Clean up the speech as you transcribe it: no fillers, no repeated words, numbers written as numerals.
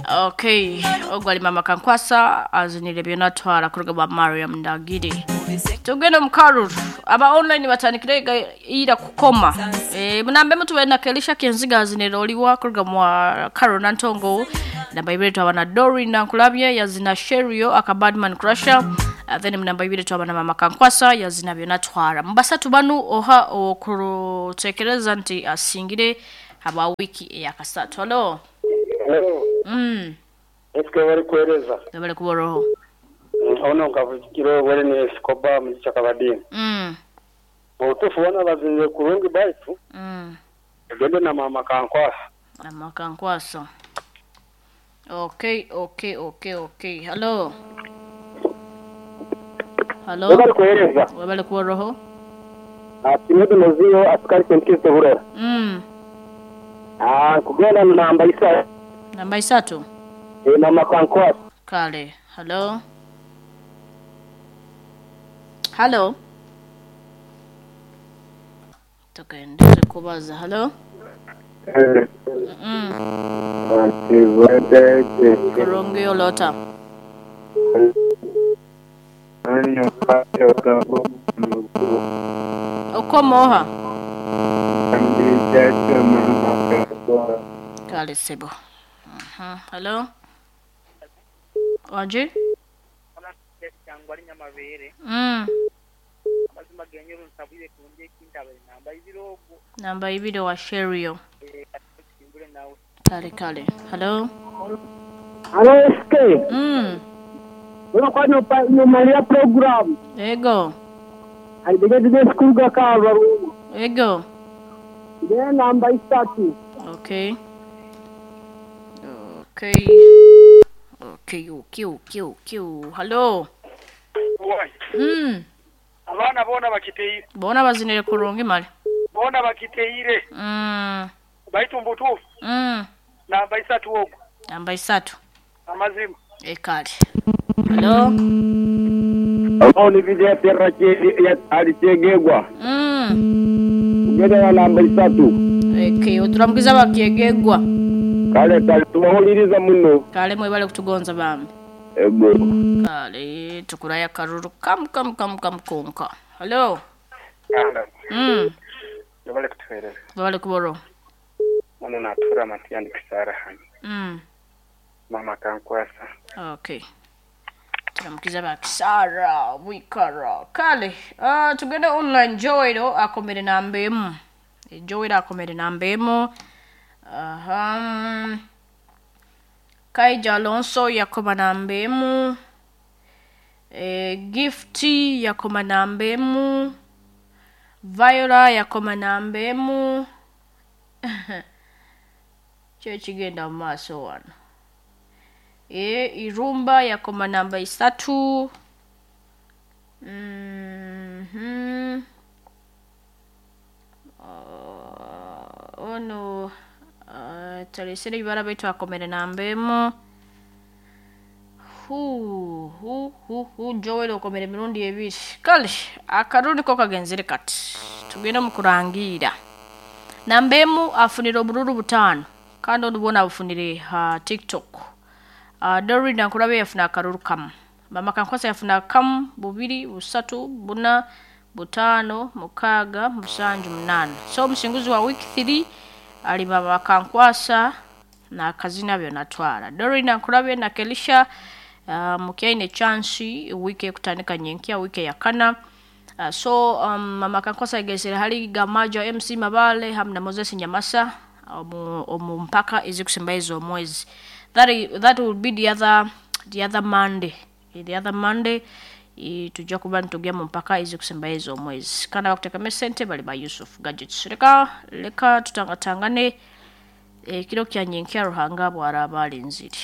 Okay, ogwo ali mama Kankwasa azinire byonatwara kuruga bwa Mariam Ndagire. Tugende mu karuru. Aba online batandikire ira kukoma. Munambe mutuwe na Kelisha Kenziga azinire oliwa kuruga mwa Karol Nantongo. Namba ibiri twaba Dori Nankulabye yazina Sherio aka Badman Crusher. Then namba ibiri twaba na mama Kankwasa yazina byonatwara. Mbasatu banu oha okutekereza nti asingire haba wiki eyakasatu. Hello. Hello. Eske bali kuwereza. Bali kuboroho. Ono nkavugire obwere ni Escobar mu Chakabadini. Obutuufu bona bazinire kurungi baitu. Egende na mama Kankwasa. Mama Kankwasa. Okay, okay, okay, okay. Hello. Hello. Bali kuwereza. Wabali kuboroho. Timothy Mozio askari St. Burera. Kugenda na namba isa. Namba isatu. Mama Kankwasa. Kale. Hello. Hello. Tukaendelea kubaza. Hello. Kurungi olota. Okomoha. Kale sebo. Hello. Waje? Namba ibiri wa Sherio. Kale kale. Hello. Hello SK. Unakuwa nyumalia program. Ego. Alibigeze skuga kabaru. Ego. Ndio namba isatu. Okay. Okay. Okay, okay, okay, okay. Hello. Abana bona bakiteire. Bona bazinire kurungi mali. Bona bakiteire. Baitu mbutufu. Namba isatu ogo. Namba isatu. Amazima. Ekali. Hello. Hello, ni vile terra che alichegegwa. Ugenda na namba isatu. Okay, oturamkiza bakyegegwa. Kale kale tubahuliriza muno. Kale mwebale kutugonza bambi. Ego. Kale tukuraya karuru kam kam kam kam konka. Hello. Wabale kutuhereza. Wabale kuboro. Muno natura matiani kisara hani. Mama Kankwasa. Okay. Turamkiza bakisara wikara. Kale, tugende online Joel akomere namba emu. Joel akomere namba emu. Aha. Kaija Alonso yakoma namba emu. Gifty yakoma namba emu. Viola yakoma namba emu. Kyo kigenda mu maaso wano. Irumba yakoma namba isatu. Ono talesere ibara baitu akomere namba emu. Hu Joel okomere emirundi ebiri. Kale akarundi ko kagenzere kati. Tugenda mu kurangira. Namba emu afunire obururu butano. Kandi onubona abufunire ha TikTok. Doreen Nankulabe yafuna akaruru kamu. Mama Kankwasa yafuna kamu, bubiri, busatu, buna, butano, mukaga, musanju, munana. So omusinguzi wa week 3 ali Mama Kankwasa na kazina byonatwara. Doreen Nankulabe na Kelisha mukyaine chance wiki ekutandika nyenkya wiki yakana. So Mama Kankwasa egesere hali Gamaja MC Mabale hamu na Moses Nyamasa omu mpaka ezikusemba ezo omwezi. That will be the other Monday. The other Monday tujja kuba nitugya mu mpaka ezikusemba ezo omwezi. Kandi abakuteekamu esente bali ba Yusuf Gadgets. Leka tutangatangane ekiro kya nyenkya Ruhanga bw'araaba alinzire.